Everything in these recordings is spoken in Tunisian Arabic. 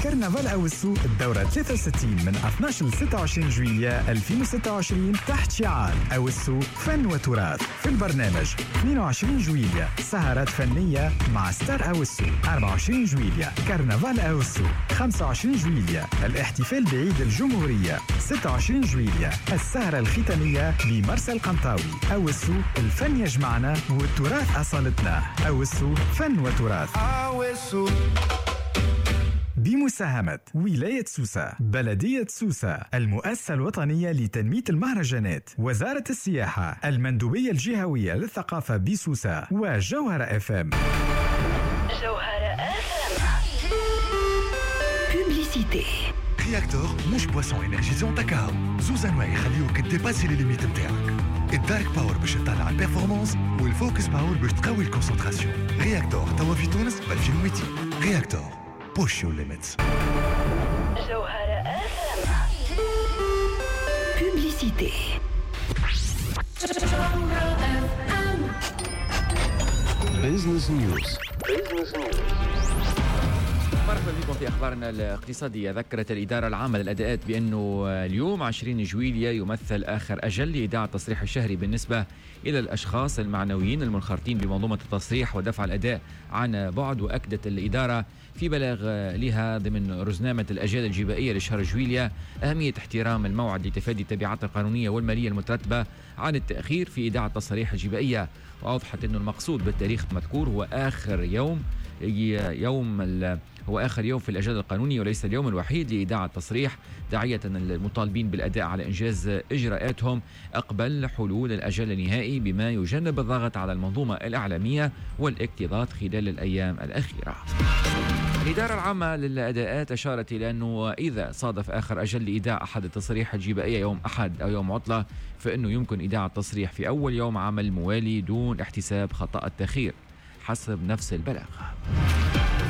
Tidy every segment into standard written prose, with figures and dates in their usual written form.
كرنفال أوسو الدورة 63 من 12 ل 26 جويلية 2026 تحت شعار أوسو فن وتراث. في البرنامج 22 جويلية سهرات فنية مع ستار أوسو، 24 جويلية كرنفال أوسو، 25 جويلية الاحتفال بعيد الجمهورية، 26 جويلية السهرة الختامية بمرسى القنطاوي. أوسو الفن يجمعنا والتراث أصالتنا. أوسو فن وتراث. أوسو. بمساهمة ولاية سوسة، بلدية سوسة، المؤسسة الوطنية لتنمية المهرجانات، وزارة السياحة، المندوبية الجهوية للثقافة بسوسة، وجوهرة اف ام. جوهرة اف ام. Publicité. Réacteur مش boisson énergisante تكاو، زوز انواع يخليوك dépasser les limites نتاعك. ال Dark Power باش تطلع ال performance، وال Focus Power باش تقوي ال concentration. Réacteur توا في تونس ب 2200. Réacteur، push your limits. جوهرة اف ام. Publicité. Business News. مرحبا بكم في أخبارنا الاقتصادية. ذكرت الإدارة العامة للأداءات بأنه اليوم 20 جويلية يمثل آخر أجل لإيداع التصريح الشهري بالنسبة إلى الأشخاص المعنويين المنخرطين بمنظومة التصريح ودفع الأداء عن بعد. وأكدت الإدارة في بلاغ لها ضمن رزنامة الأجال الجبائية لشهر جويلية أهمية احترام الموعد لتفادي التبعات القانونية والمالية المترتبة عن التأخير في إيداع التصاريح الجبائية. وأوضحت أن المقصود بالتاريخ المذكور هو آخر يوم هو آخر يوم في الأجل القانوني وليس اليوم الوحيد لإيداع التصريح، داعية المطالبين بالأداء على إنجاز إجراءاتهم قبل حلول الأجل النهائي بما يجنب الضغط على المنظومة الإعلامية والاكتظاظ خلال الأيام الأخيرة. الإدارة العامة للأداءات أشارت إلى أنه إذا صادف آخر أجل لإيداع أحد التصاريح الجبائية يوم أحد أو يوم عطلة فإنه يمكن إيداع التصريح في أول يوم عمل موالي دون احتساب خطأ التأخير حسب نفس البلاغ.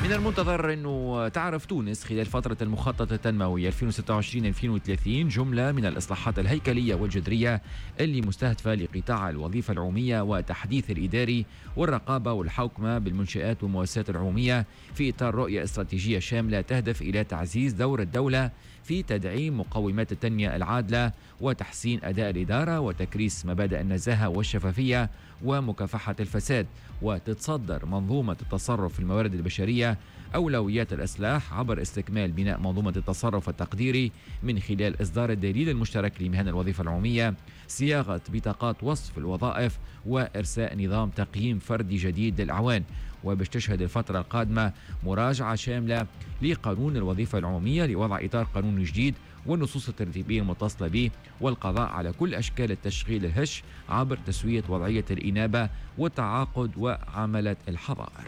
من المنتظر أنه تعرف تونس خلال فترة المخطط التنموي 2026-2030 جملة من الإصلاحات الهيكلية والجذرية اللي مستهدفة لقطاع الوظيفة العمومية وتحديث الإداري والرقابة والحوكمة بالمنشآت والمؤسسات العمومية في إطار رؤية استراتيجية شاملة تهدف إلى تعزيز دور الدولة في تدعيم مقومات التنمية العادلة وتحسين أداء الإدارة وتكريس مبادئ النزاهة والشفافية ومكافحة الفساد. وتتصدر منظومة التصرف في الموارد البشرية أولويات الإصلاح عبر استكمال بناء منظومة التصرف التقديري من خلال إصدار الدليل المشترك لمهن الوظيفة العمومية، صياغة بطاقات وصف الوظائف، وإرساء نظام تقييم فردي جديد للأعوان. وباش تشهد الفترة القادمة مراجعة شاملة لقانون الوظيفة العمومية لوضع إطار قانون جديد والنصوص الترتيبية المتصلة به، والقضاء على كل أشكال التشغيل الهش عبر تسوية وضعية الإنابة والتعاقد وعملة الحظائر.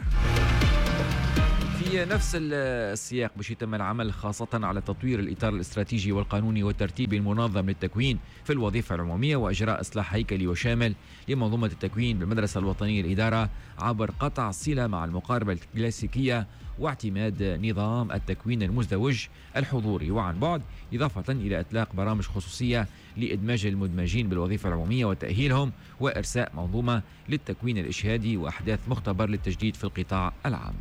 في نفس السياق باش يتم العمل خاصة على تطوير الإطار الاستراتيجي والقانوني والترتيبي المنظم للتكوين في الوظيفة العمومية وإجراء إصلاح هيكلي وشامل لمنظومة التكوين بالمدرسة الوطنية للإدارة عبر قطع الصلة مع المقاربة الكلاسيكية واعتماد نظام التكوين المزدوج الحضوري وعن بعد، إضافة إلى إطلاق برامج خصوصية لإدماج المدمجين بالوظيفة العمومية وتأهيلهم وإرساء منظومة للتكوين الإشهادي وأحداث مختبر للتجديد في القطاع العام.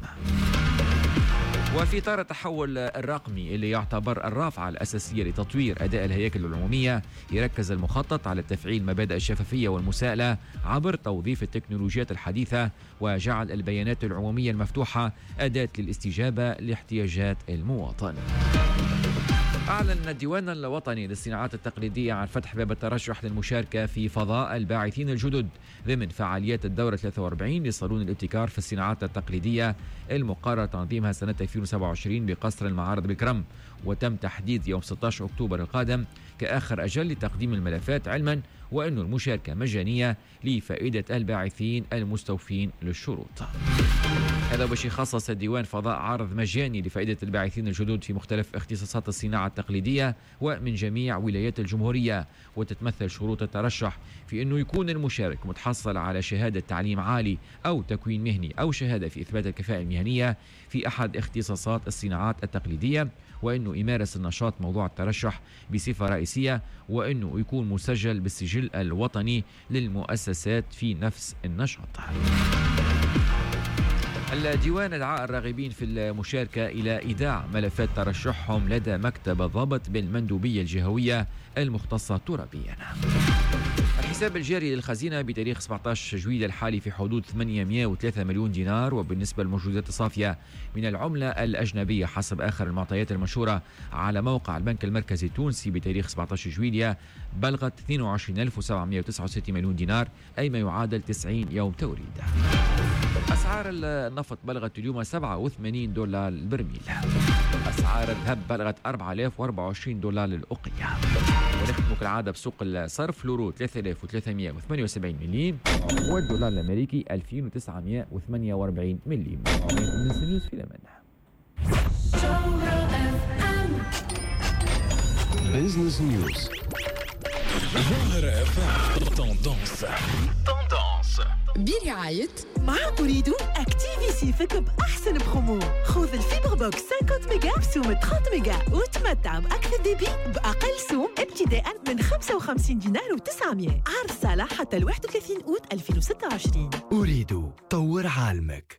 وفي إطار التحول الرقمي اللي يعتبر الرافعة الأساسية لتطوير أداء الهياكل العمومية، يركز المخطط على تفعيل مبادئ الشفافية والمساءلة عبر توظيف التكنولوجيات الحديثة وجعل البيانات العمومية المفتوحة أداة للاستجابة لاحتياجات المواطن. أعلن الديوان الوطني للصناعات التقليدية عن فتح باب الترشح للمشاركة في فضاء الباعثين الجدد ضمن فعاليات الدورة 43 لصالون الابتكار في الصناعات التقليدية المقرر تنظيمها سنة 2027 بقصر المعارض بكرم. وتم تحديد يوم 16 أكتوبر القادم كآخر أجل لتقديم الملفات، علما وأن المشاركة مجانية لفائدة الباعثين المستوفين للشروط. هذا باش يخصص الديوان فضاء عرض مجاني لفائدة الباعثين الجدد في مختلف اختصاصات الصناعة التقليدية ومن جميع ولايات الجمهورية. وتتمثل شروط الترشح في أنه يكون المشارك متحصل على شهادة تعليم عالي أو تكوين مهني أو شهادة في إثبات الكفاءة المهنية في أحد اختصاصات الصناعات التقليدية، وأنه يمارس النشاط موضوع الترشح بصفة رئيسية، وأنه يكون مسجل بالسجل الوطني للمؤسسات في نفس النشاط. الديوان دعا الراغبين في المشاركة إلى إيداع ملفات ترشحهم لدى مكتب الضبط بالمندوبية الجهوية المختصة ترابيا. الحساب الجاري للخزينة بتاريخ 17 جويلية الحالي في حدود 803 مليون دينار. وبالنسبة للموجودات الصافية من العملة الأجنبية حسب آخر المعطيات المنشورة على موقع البنك المركزي التونسي بتاريخ 17 جويلية بلغت 22769 مليون دينار، أي ما يعادل 90 يوم توريد. أسعار النفط بلغت اليوم 87 دولار البرميل. أسعار الذهب بلغت 4024 دولار للأوقية. ونختم كالعادة بسوق الصرف، لورو 3378 مليم والدولار الأمريكي 2948 مليم. من في الأمان. Business News. جوهرة FM tendance. برعاية مع أوريدو activer صيفك بأحسن برومو. خذ ال fibre box 50 ميجا بسوم 30 ميجا وتمتع بأكثر débit بأقل سوم ابتداء من 55 دينار و900. عرض صالح حتى 31 أوت 2026. أوريدو طور عالمك.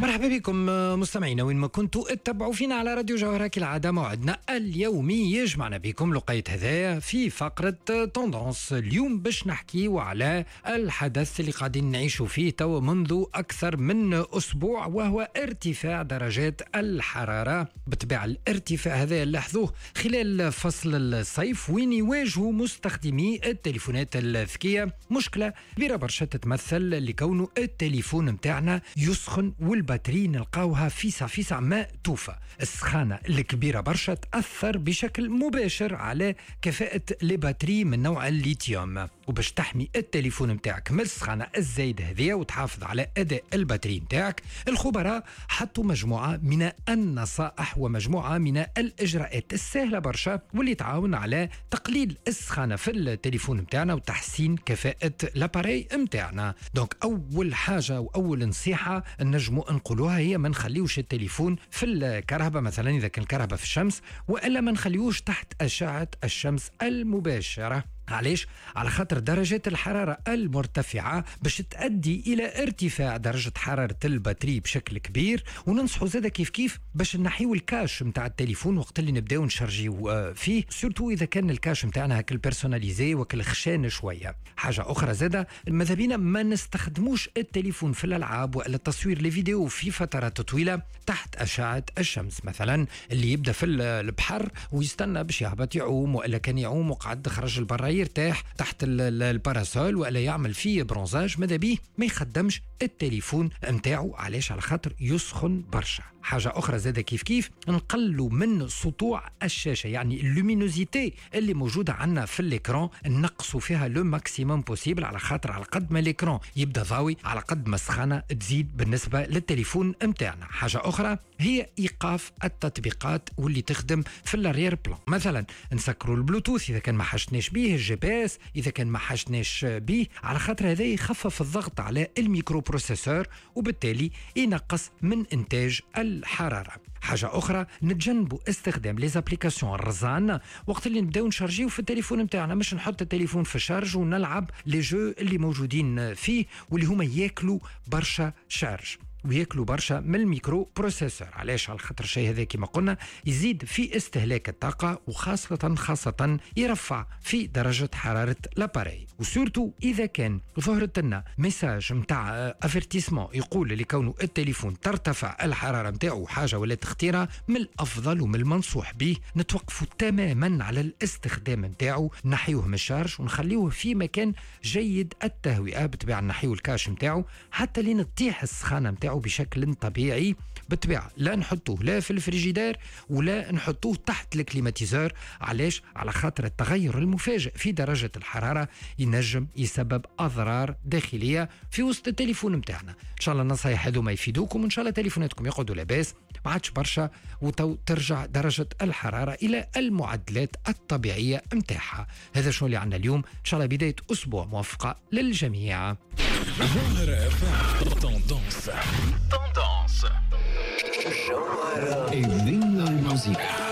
مرحبا بكم مستمعينا وين ما كنتوا اتبعوا فينا على راديو جوهرة. كالعادة موعدنا اليومي يجمعنا بكم لقيت هذايا في فقرة tendance. اليوم باش نحكيو على الحدث اللي قاعدين نعيشوا فيه تو منذ أكثر من أسبوع، وهو ارتفاع درجات الحرارة. بالطبيعة الارتفاع هذا لاحظوه خلال فصل الصيف، وين يواجهوا مستخدمي التليفونات الذكية مشكلة كبيرة برشا تتمثل لكونه التليفون متاعنا يسخن وال batterie نلقاوها فيسع فيسع ما توفى. السخانة الكبيرة برشا تأثر بشكل مباشر على كفاءة les batteries من نوع الليثيوم، وباش تحمي التليفون متاعك من السخانة الزايدة هذه وتحافظ على أداء ال batterie متاعك، الخبراء حطوا مجموعة من النصائح ومجموعة من الإجراءات السهلة برشا واللي تعاون على تقليل السخانة في التليفون متاعنا وتحسين كفاءة l'appareil متاعنا. donc أول حاجة وأول نصيحة نجمو نقولوها هي ما نخليوش التليفون في الكهرباء، مثلا إذا كان الكهرباء في الشمس، وإلا ما نخليوش تحت أشعة الشمس المباشرة. علاش؟ على خاطر درجات الحرارة المرتفعة باش تؤدي إلى ارتفاع درجة حرارة ال batterie بشكل كبير. وننصحوا زادة كيف كيف باش نحيو ال cache متاع التليفون وقت اللي نبداو نشارجيو فيه، surtout إذا كان ال cache متاعنا هاك ال personnalisé وكل خشان شوية. حاجة أخرى زادة ماذا بينا ما نستخدموش التليفون في الألعاب ولا التصوير les vidéos في فترات طويلة تحت أشعة الشمس. مثلا اللي يبدأ في البحر ويستنى باش يهبط يعوم، وإلا كان يعوم وقعد خرج البرا يرتاح تحت ال parasol ولا يعمل فيه bronzage، ماذا بيه ما يخدمش التليفون نتاعو. علاش؟ على خاطر يسخن برشا. حاجة أخرى زادة كيف كيف نقلوا من سطوع الشاشة، يعني ال luminosité اللي موجودة عندنا في l'écran نقصوا فيها le maximum possible، على خاطر على قد ما l'écran يبدا ضاوي على قد ما السخانة تزيد بالنسبة للتليفون نتاعنا. حاجة أخرى هي إيقاف التطبيقات واللي تخدم في l'arrière-plan، مثلا نسكروا البلوتوث إذا كان ما حاجتناش به، ال GPS إذا كان ما حاجتناش به، على خاطر هذا يخفف الضغط على ال microprocesseur وبالتالي ينقص من إنتاج الحرارة. حاجة أخرى نتجنبوا استخدام les applications الرزان وقت اللي نبداو نشارجيو في التليفون نتاعنا، مش نحط التليفون في ال charge ونلعب les jeux اللي موجودين فيه واللي هما ياكلوا برشا charge وياكلوا برشا من ال microprocesseur. علاش؟ على خاطر الشيء هذا كما قلنا يزيد في استهلاك الطاقة وخاصة خاصة يرفع في درجة حرارة l'appareil، و surtout إذا كان ظهرت لنا message نتاع افيرتيسمون يقول لكونه التليفون ترتفع الحرارة نتاعو حاجة ولا تختيرة، من الأفضل ومن المنصوح به نتوقفوا تماما على الاستخدام نتاعو، نحيوه من ال charge ونخليوه في مكان جيد التهوئة، بالطبيعة نحيو ال cache نتاعو حتى لين تطيح السخانة نتاعو بشكل طبيعي. بالطبيعة لا نحطوه لا في الفريجيدير ولا نحطوه تحت ال climatiseur. علاش؟ على خاطر التغير المفاجئ في درجة الحرارة ينجم يسبب أضرار داخلية في وسط التليفون متاعنا. إن شاء الله النصايح هذوما يفيدوكم، وإن شاء الله تليفوناتكم يقعدوا لاباس ما عادش برشا وتو ترجع درجة الحرارة إلى المعدلات الطبيعية متاعها. هذا شو اللي عندنا اليوم، إن شاء الله بداية أسبوع موفقة للجميع. جوهرة FM tendance. الدنيا الموسيقى.